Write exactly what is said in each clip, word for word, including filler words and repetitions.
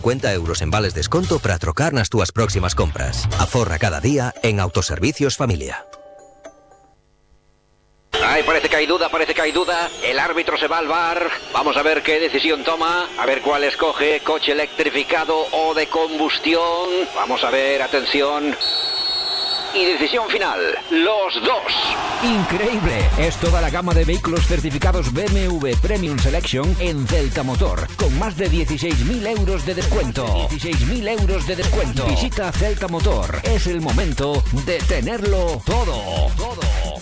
cincuenta euros en vales desconto para trocar nas túas próximas compras. Aforra cada día en Autoservicios Familia. Ay, parece que hay duda, parece que hay duda. El árbitro se va al V A R. Vamos a ver qué decisión toma. A ver cuál escoge. Coche electrificado o de combustión. Vamos a ver, atención. Y decisión final, los dos. Increíble, es toda la gama de vehículos certificados B M W Premium Selection en Celta Motor, con más de dieciséis mil euros de descuento. dieciséis mil euros de descuento. Visita Celta Motor, es el momento de tenerlo todo. Todo, todo.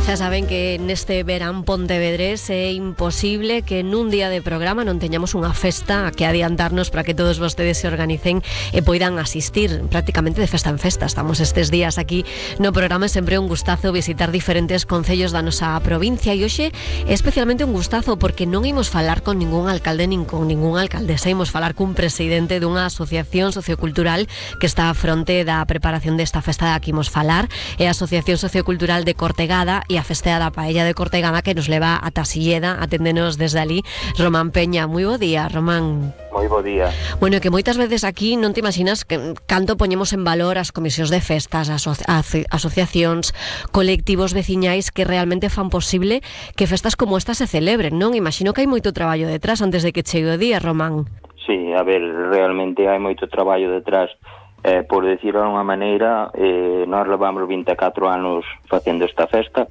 Xa saben que neste verán pontevedrés é imposible que nun día de programa non teñamos unha festa que adiantarnos para que todos vostedes se organicen e poidan asistir prácticamente de festa en festa. Estamos estes días aquí no programa e sempre é un gustazo visitar diferentes concellos da nosa provincia e hoxe é especialmente un gustazo porque non imos falar con ningún alcalde nin con ningún alcaldesa, imos falar cun presidente dunha asociación sociocultural que está a fronte da preparación desta festa da que imos falar, é a Asociación Sociocultural de Cortegada e a Festea da Paella de Cortegada que nos leva a Tasilleda, aténdenos desde ali Román Peña. Moi bo día, Román. Moi bo día. Bueno, que moitas veces aquí non te imaginas que canto poñemos en valor as comisións de festas, as aso- asociacións, colectivos veciñais que realmente fan posible que festas como esta se celebren, non? Imagino que hai moito traballo detrás antes de que chegue o día, Román. Sí, a ver, realmente hai moito traballo detrás. Eh, por decirlo de unha maneira, eh, nós levamos vinte e catro anos facendo esta festa.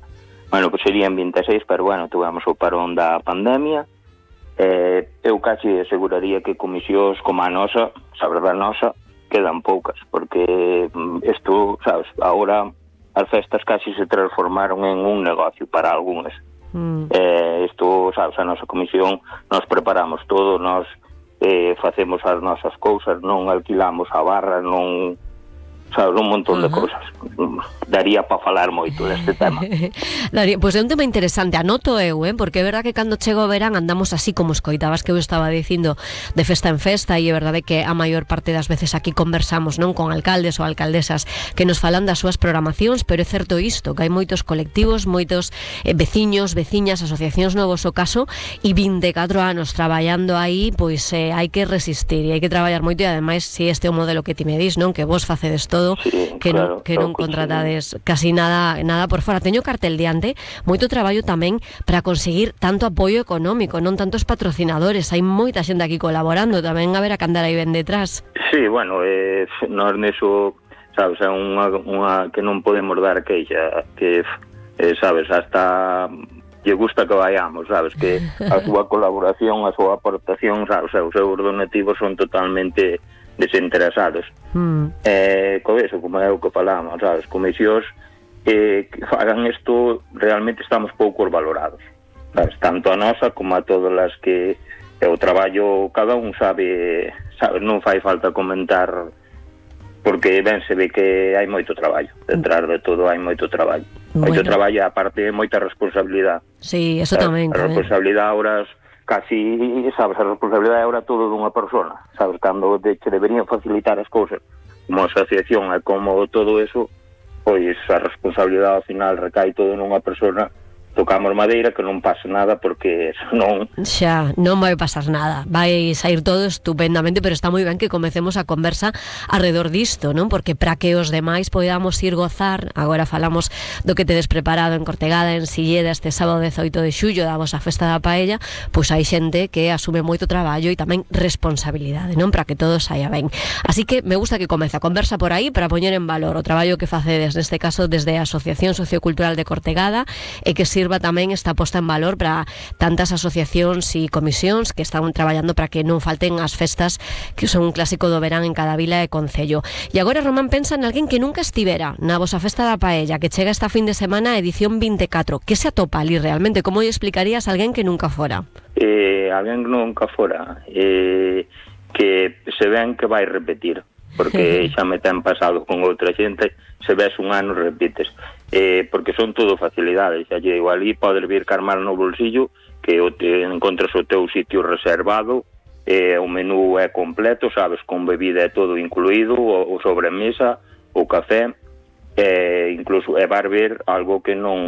Bueno, pues serían vinte e seis, pero bueno, tuvemos o parón da pandemia. Eh, eu casi aseguraría que comisións como a nosa, sabes, a nosa, quedan poucas, porque isto, sabes, agora as festas casi se transformaron en un negocio para algúns. Mm. Eh, isto, sabes, a nosa comisión, nos preparamos todo, nos eh, facemos as nosas cousas, non alquilamos a barra, non... sabes, un montón de uh-huh. cousas. Daría para falar moito deste tema. Daría, pois pues é un tema interesante, anoto eu, eh, porque é verdade que cando chego o verán andamos así como escoitabas que eu estaba dicindo de festa en festa, e é verdade que a maior parte das veces aquí conversamos non con alcaldes ou alcaldesas que nos falan das súas programacións, pero é certo isto, que hai moitos colectivos, moitos eh, veciños, veciñas, asociacións novos o caso, e vinte e catro anos traballando aí, pois eh, hai que resistir e hai que traballar moito, e ademais si este é o modelo que ti me dis, non, que vos facedes todo todo, sí, que claro, non que non contratades sí. casi nada nada por fora. Teño cartel diante, moito traballo tamén para conseguir tanto apoio económico, non tantos patrocinadores. Hai moita xente aquí colaborando, tamén a ver a que andar aí ben detrás. Sí, bueno, eh, nós neso, sabes, é unha, unha que non podemos dar queixa, que, eh, sabes, hasta lle gusta que vayamos, sabes, que a súa colaboración, a súa aportación, sabes, os seus donativos son totalmente desinteresados. Mm. Eh, co eso, como é o que falamos, sabes, comisións eh, que fagan isto, realmente estamos poucos valorados, sabes, tanto a nosa como a todas as que é o traballo, cada un sabe, sabes, non fai falta comentar, porque ben se ve que hai moito traballo, detrás de todo hai moito traballo. Bueno. Moito traballo, aparte moita responsabilidade. Sí, eso sabes, tamén. A responsabilidade ahora casi, sabes, a responsabilidade ahora todo dunha persona, sabes, cando te, te deberían facilitar as cousas como asociación e como todo eso, pois a responsabilidade ao final recae todo nunha persona. Tocamos madeira que non pase nada, porque non... Xa, non vai pasar nada, vai sair todo estupendamente, pero está moi ben que comecemos a conversa alrededor disto, non? Porque para que os demais podamos ir gozar, agora falamos do que tedes preparado en Cortegada, en Silleda, este sábado dezoito de xullo, da vosa festa da paella, pois hai xente que asume moito traballo e tamén responsabilidade, non? Para que todo saia ben. Así que me gusta que comece a conversa por aí para poñer en valor o traballo que facedes, neste caso desde a Asociación Sociocultural de Cortegada, e que sirva tamén esta posta en valor para tantas asociacións e comisións que están traballando para que non falten as festas que son un clásico do verán en cada vila e concello. E agora, Román, pensa en alguén que nunca estivera na vosa festa da paella, que chega esta fin de semana a edición vinte e catro. Que se atopa ali realmente? Como lle explicarías a alguén que nunca fora? Eh, alguén que nunca fora eh, que se ven que vai repetir, porque xa me ten pasado con outra xente, se ves un ano repites, eh, porque son todo facilidades, xa lle digo, ali podes vir carmar no bolsillo, que o te encontras o teu sitio reservado, eh, o menú é completo, sabes, con bebida é todo incluído, o, o sobremesa, o café, e incluso e vai ver algo que non